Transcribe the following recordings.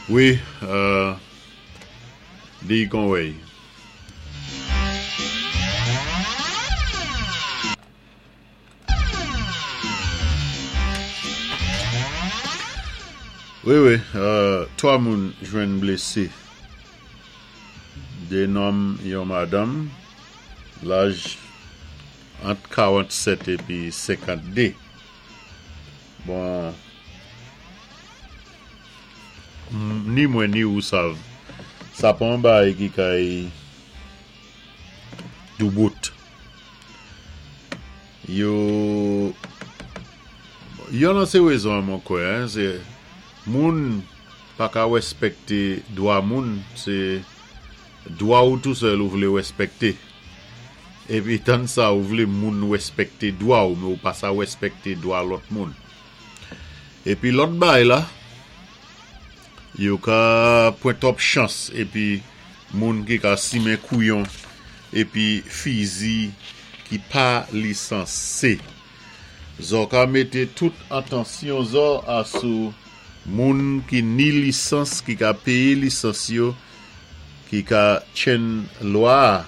Wi, di kon wèy. Wi wi, 3 moun jwenn blese. 2 nonm yon madanm, laj ant 47 epi 52. Bon, ni mwen ni ou sav, sa pa yon bagay ki kay doubout. Yo, yon nan se rezon an mwen kwè, se moun pa ka respekte dwa moun, se dwa ou tou sèl ou vle respekte. Epi tann sa ou vle moun respekte dwa ou men ou pa sa respekte dwa lòt moun. Epi lòt bagay la, yo ka pran twòp chans epi moun ki ka simen kouyon epi fizi ki pa lisanse. Zò ka mete tout atansyon zò a sou moun ki ni lisans ki ka peye lisans yo ki ka tchenn lwa a.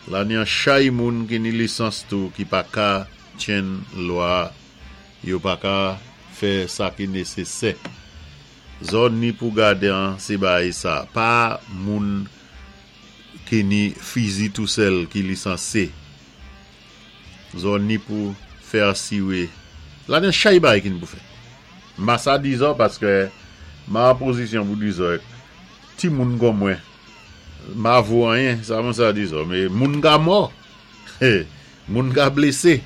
La ni an chay moun ki ni lisans tou ki pa ka tchenn lwa a. Yo pa ka fè sa ki nesesè. Zò ni pou gade an se bagay sa. Pa moun ki ni fizi tou sèl ki lisanse. Zò ni pou fè asire. La gen chay bagay ki ni pou fèt. M pa sa di zò paske m an pozisyon pou di zò ti moun kon mwen m pa vo anyen sa mwen sa di zò men moun ka mò moun ka blese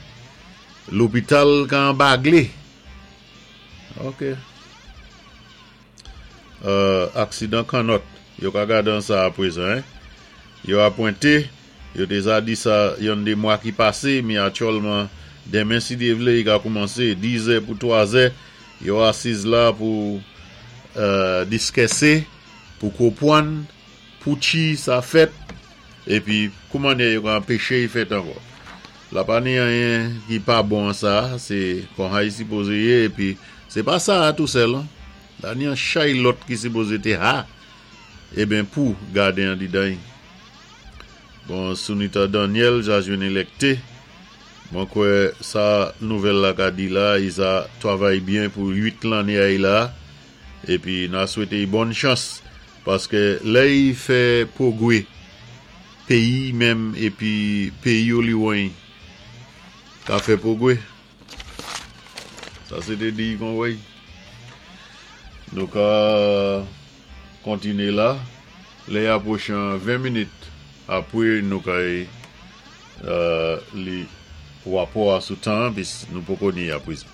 lopital ka anbagle ok. Aksidan kannòt, yo ka gade an sa aprezan hein. Yo apwente, yo deza di sa yonn de mwa ki pase, mi atyòlman denmen si Dye vle yi ka koumanse 10 zè pou 3 zè, yo asiz la pou diskèse, pou kopwann pouchi sa fèt, epi kouman yo ka anpeche yi fèt ankò. La pa ni anyen ki pa bon an sa, se kon hay sipoze ye epi se pa sa a tou sèl an. La ni an chay lòt ki sipoze te ha eben pou gade an didan y. Bon Sunita Daniel ja jwenn elekte. Mwen kwè sa nouvèl la ka di la y sa travay byen pou 8 lanne ay la epi na swete y bòn chans paske lè y fè pwogwe peyi menm epi peyi oliwony ka fè pwogwe. Sa se te di kon wey. Nou ka kontine la. Lè y apwoche an 20 minit apre nou ka li rapò a sou tan an pis nou poko ni aprezan.